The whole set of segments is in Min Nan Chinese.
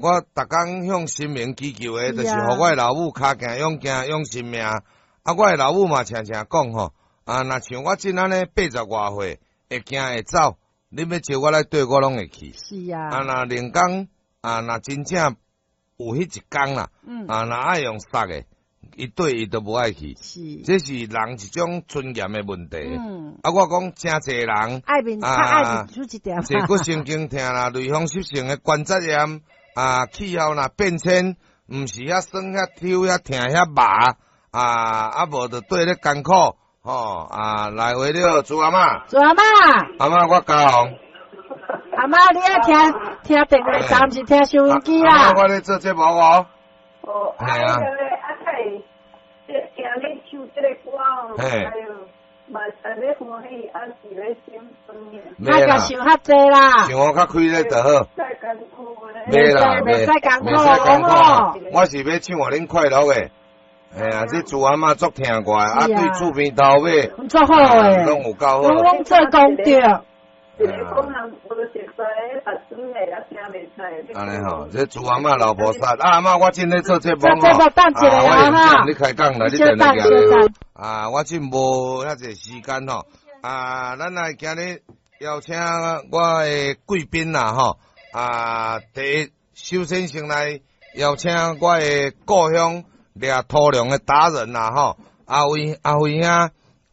我逐工向神明祈求的，就是予我的老母跤行勇行勇性命。啊，我的老母嘛常常講吼，啊，若像我這按呢八十外歲，會行會走，你欲招我來綴，我攏會去。啊，若靈工啊，若真正有彼一工啦，啊，若愛用殺的，伊綴伊都無愛去。這是人一種尊嚴的問題。啊，我講誠濟人，愛面較愛面子一點。坐骨神經疼啦，類風濕性的關節炎啊，氣候若變遷，毋是遐酸遐抽遐疼遐麻啊，啊無就綴咧艱苦吼啊，來話了，朱阿嬤，朱阿嬤，阿嬤我嘉宏，阿嬤你愛聽聽電話站，毋是聽收音機啦。我咧做節目哦。哦，係啊。啊，聽你唱這個歌哦，哎喲，嘛是咧歡喜，啊是咧心酸的。莫共想較濟啦。想我較開咧就好。使艱苦咧。袂啦，袂使艱苦，艱苦。我是欲唱予恁快樂的。哎呀，這朱阿嬤足疼我的，啊對厝邊頭尾，足好的，攏有夠好。攏做功德。按呢吼，這朱阿嬤老菩薩，啊阿嬤，我正咧做節目吼，啊，我用你開講啦，你電來來。啊，我真無遐濟時間吼，啊，咱來今日邀請我的貴賓啦吼，啊，第一首先先來邀請我的故鄉掠土龍的達人啦吼，阿輝阿輝兄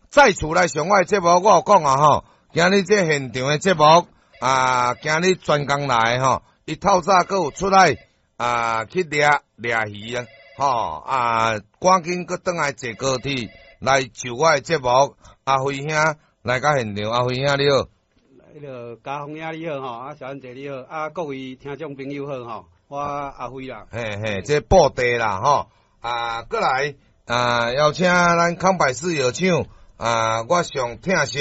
再次來上我的節目，我有講啊吼，今日這現場的節目啊，今日專工來吼，伊透早閣有出來啊去掠掠魚啊，吼啊，趕緊閣轉來坐高鐵來就我的節目。阿輝兄來到現場，阿輝兄你好。彼個嘉宏兄你好吼，啊小燕姐你好，啊各位聽眾朋友好吼，我阿輝啦。嘿嘿，這布袋啦吼，啊閣來啊邀請咱康百氏藥廠啊，我上疼惜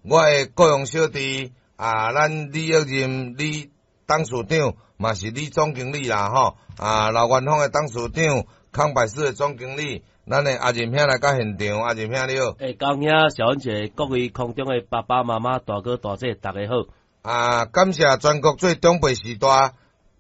我的高雄小弟啊，咱李玉任李董事長嘛是李總經理啦吼，啊劉元芳的董事長，康百氏的總經理，咱的阿任兄來到現場，阿任兄你好。欸，嘉宏兄、小燕姐，各位空中的爸爸媽媽、大哥大姐，大家好。啊，感謝全國做長輩時代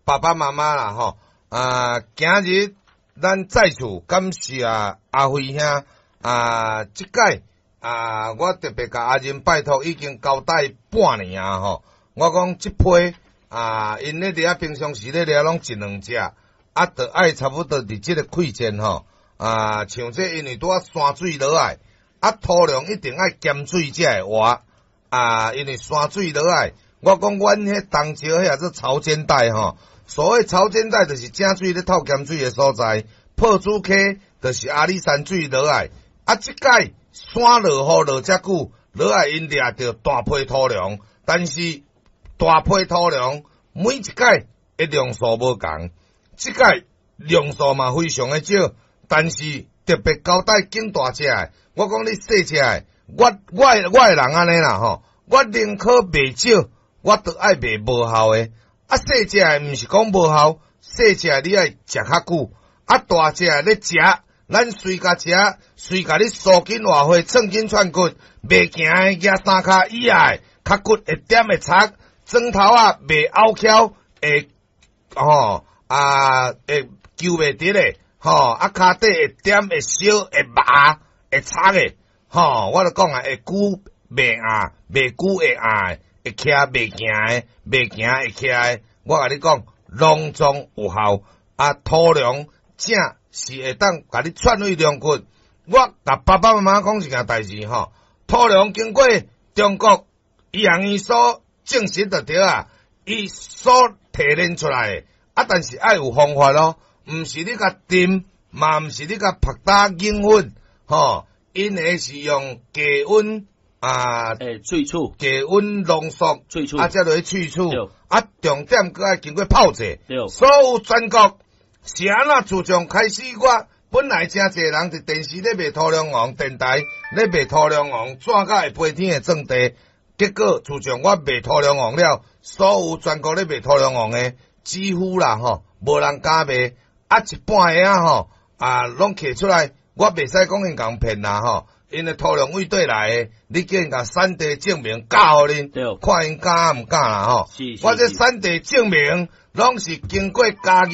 爸爸媽媽啦吼。啊，今日咱再次感謝阿輝兄啊，這擺啊，我特別共阿任拜託，已經交代半年啊吼。我講這批啊，𪜶咧佇遐平常時咧掠攏一兩隻，啊，著愛差不多佇這個季節吼。啊，像這因為拄仔山水落來，啊，土龍一定愛鹹水才會活。啊，因為山水落來，我講阮彼東石彼叫做潮間帶吼。所謂潮間帶，就是井水咧透鹹水的所在。破竹溪就是阿里山水落來，啊，這擺山落雨落遮久，落來𪜶掠著大批土龍，但是大批土龍每一擺的量數無仝，這擺量數嘛非常的少。但是特別交代揀大隻的，我講你細隻的，我的人按呢啦吼，我寧可賣少，我都愛賣無效的。啊，細隻的毋是講無效，細隻的你愛食較久，啊，大隻的咧食，咱隨共食，隨共你蘇筋活血、創筋串骨，袂行的舉三跤以下，較骨會點會插，磚頭仔袂拗翹，會吼啊會揪袂直的。吼，啊，跤底會點會燒會麻會插的，吼，我就講啊，會久袂硬，袂久會硬，會徛袂行的，袂行會徛的，我共你講，攏總有效。啊，土龍正是會當共你串位龍骨。我共爸爸媽媽講一件代誌吼，土龍經過中國醫學院所證實就對啊，伊所提煉出來的，啊，但是愛有方法咯。毋是你共浸，嘛毋是你共曝打凝粉，吼，𪜶的是用低溫啊，萃取，低溫濃縮，萃取，啊，才落去萃取，啊，重點閣愛經過泡製。所有全國是按怎？自從開始，我本來誠濟人佇電視咧賣土龍王，電台咧賣土龍王，紙甲會飛天的鑽地，結果自從我賣土龍王了，所有全國咧賣土龍王的，幾乎啦吼，無人敢賣。啊，一半的啊吼，啊，攏提出來，我袂使講𪜶共騙啦吼，因為土龍對佗來的，你叫𪜶共產地證明交予恁，看𪜶敢毋敢啦吼。我這產地證明攏是經過嘉義。